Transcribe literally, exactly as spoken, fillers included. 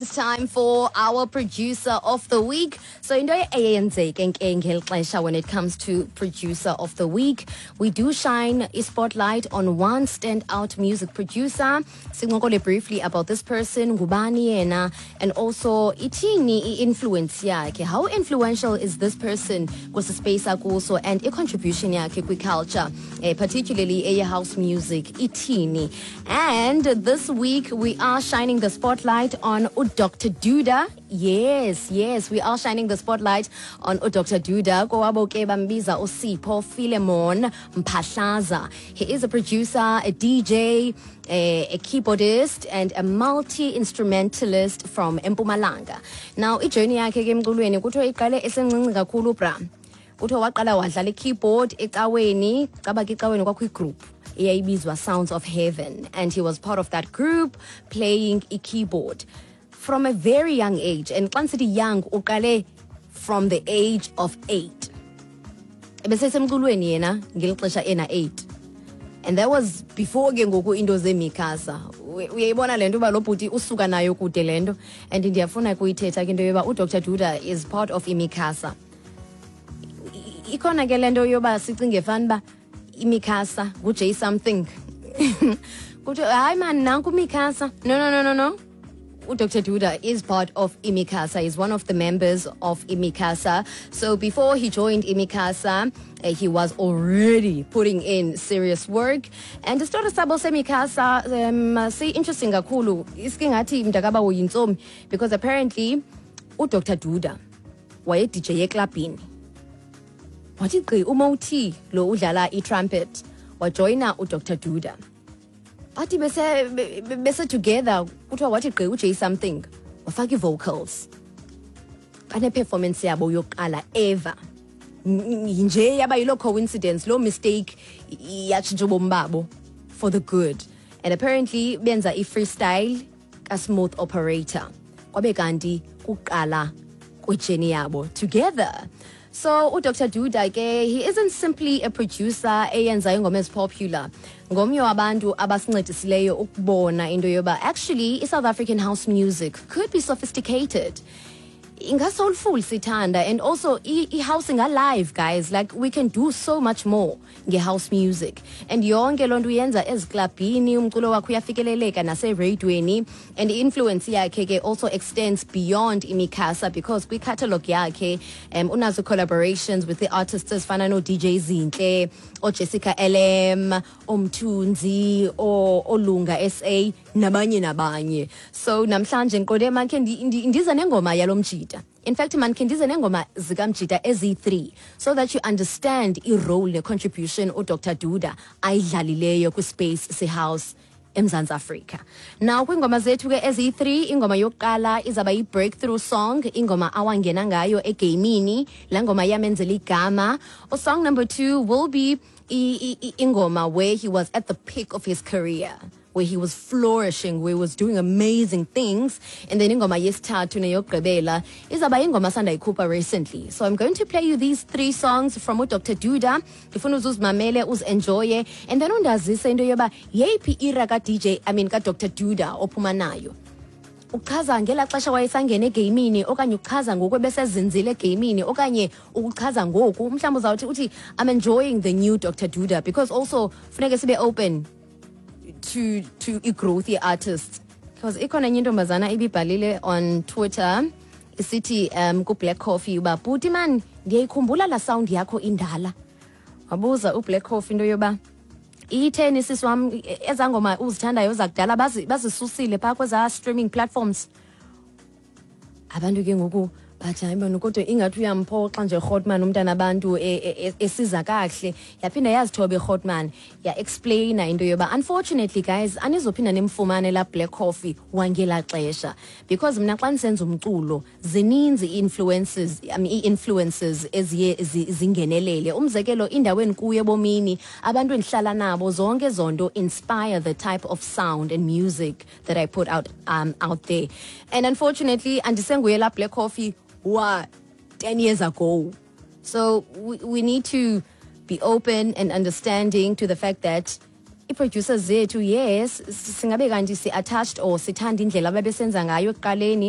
It's time for our producer of the week. So into eyenzeke ke ngeli xesha when it comes to producer of the week, we do shine a spotlight on one standout music producer. Sincokole briefly about this person, ngubani yena, and also ithini i-influence yakhe. How influential is this person kwesi space akuso and i-contribution yakhe kwi-culture, eh, particularly eye-house music, ithini. And this week we are shining the spotlight on Doctor Duda. Yes, yes, we are shining the spotlight on Doctor Duda. Kowabo ke bambiza uSipho Philemon Mphahlaza. He is a producer, a D J, a, a keyboardist and a multi-instrumentalist from Mpumalanga. Now, ijourney yakhe ke emculweni kuthiwa iqale esencinci kakhulu, bra. Kuthiwa waqala wadlala i-keyboard ecaweni, caba ke ecaweni kwakho igroup eyayibizwa Sounds of Heaven, and he was part of that group playing i-keyboard from a very young age. And xa ndisithi young, uqale from the age of eight. Ebesesemculweni yena ngeli xesha ena eight, and that was before ke ngoku into zeMicasa. Uyayibona le nto uba lo bhuti usuka nayo kude le nto, and ndiyafuna kuyithetha ke into yoba uDr Duda is part of iMicasa. Ikhona ke le nto yoba sicinge fani uba iMicasa nguJ something, kuthiwe hayi mani, nanku uMicasa. No, no, no, no, no, Doctor Duda is part of iMicasa. He's one of the members of iMicasa. So before he joined iMicasa, uh, he was already putting in serious work. And the story sabo seMicasa um, si interesting kakhulu. Iske ngathi mntakaba uyintsomi, because apparently uDr Duda waye D J eklabhini. Wathi gqi uMoti lo udlala i-trumpet, wajoyina uDr Duda. Bathi bese be- be- bese together, kuthiwa wathi gqi uJ something, wafaka ii-vocals, bane-performance yabo yokuqala ever. N- nje yaba yiloo coincidence, loo mistake yatshintsha ubomi babo for the good. And apparently benza i-freestyle kaSmooth Operator, kwabe kanti kuqala kwijourney yabo together. So uDr Duda ke, he isn't simply a producer eyenza ingoma ezipopular. Ngomnye wabantu abasincedisileyo ukubona into yoba actually i-South African house music could be sophisticated, inga-soulful sithanda, and also i-house inga-live, guys. Like, we can do so much more nge-house music, and yonke loo nto uyenza eziklabhini, umculo wakhe uyafikeleleka nasereyidweni. And i-influence yakhe ke also extends beyond iMicasa, because kwi-catalogue yakhe um unazo collaborations with the artists ezifana no-D J Zinhle, oJessica L M, oMthunzi, oLunga S A, nabanye nabanye. So namhlanje ngiqonde makhe ndi- ndi- ndize nengoma yalo mjita. In fact, man, khe ndize nengoma zikamjita eziyi-three so that you understand i-role ne-contribution uDr Duda ayidlalileyo kwispace sehouse eMzantsi Afrika. Now, kwiingoma zethu ke eziyi-three, ingoma yokuqala izaba yi-breakthrough song, ingoma awangena ngayo egamini, laa ngoma yamenzela igama. Song number two will be i- i- i- ingoma where he was at the peak of his career, where he was flourishing, where he was doing amazing things. And then ingoma yesithathu neyokugqibela izaba ingoma sandayikhupha recently. So I'm going to play you these three songs from uDr Duda. Ndifuna uzuzimamele, uzenjoye, and then undazise into yoba yeyiphi era ka-D J, I mean ka-Doctor Duda ophuma nayo. Uchaza ngelaa xesha wayesangena egamini, okanye uchaza ngoku ebesezinzile egamini, okanye ukuchaza ngoku mhlawumbi uzawuthi uthi I'm enjoying the new Doctor Duda, because also funeke sibe open to to i-growth ye-artists, because ikhona enye intombazana ibibhalile on Twitter isithi um ku-Black Coffee uba, "Bhuti man, ndiyayikhumbula laa sound yakho indala." Wabuza uBlack Coffee into yoba itheni, sisi wam, ezaa ngoma uzithandayo zakudala bazi- bazisusile phaa kwezaa streaming platforms. Abantu ke ngoku bathi, hayi bani, kodwa ingathi uyamphoxa nje Rhotman umntana abantu e- e- e- esiza kakuhle. Yaphinda yazithoba iRhotman, ya-explaina into yoba unfortunately, guys, anizophinda nimfumane laa Black Coffee wangelaa xesha, because mna xa ndisenza umculo zininzi ii-influences, I mean, ii-influences eziye zi- zingenelele, umzekelo indawo endikuyo ebomini, abantu endihlala nabo, zonke ezo nto inspire the type of sound and music that I put out um, out there, and unfortunately andisenguye laa Black Coffee wa ten years ago. So we, we need to be open and understanding to the fact that Ii-producers zethu, yes, singabe kanti si-attached or sithanda indlela ababesenza ngayo ekuqaleni.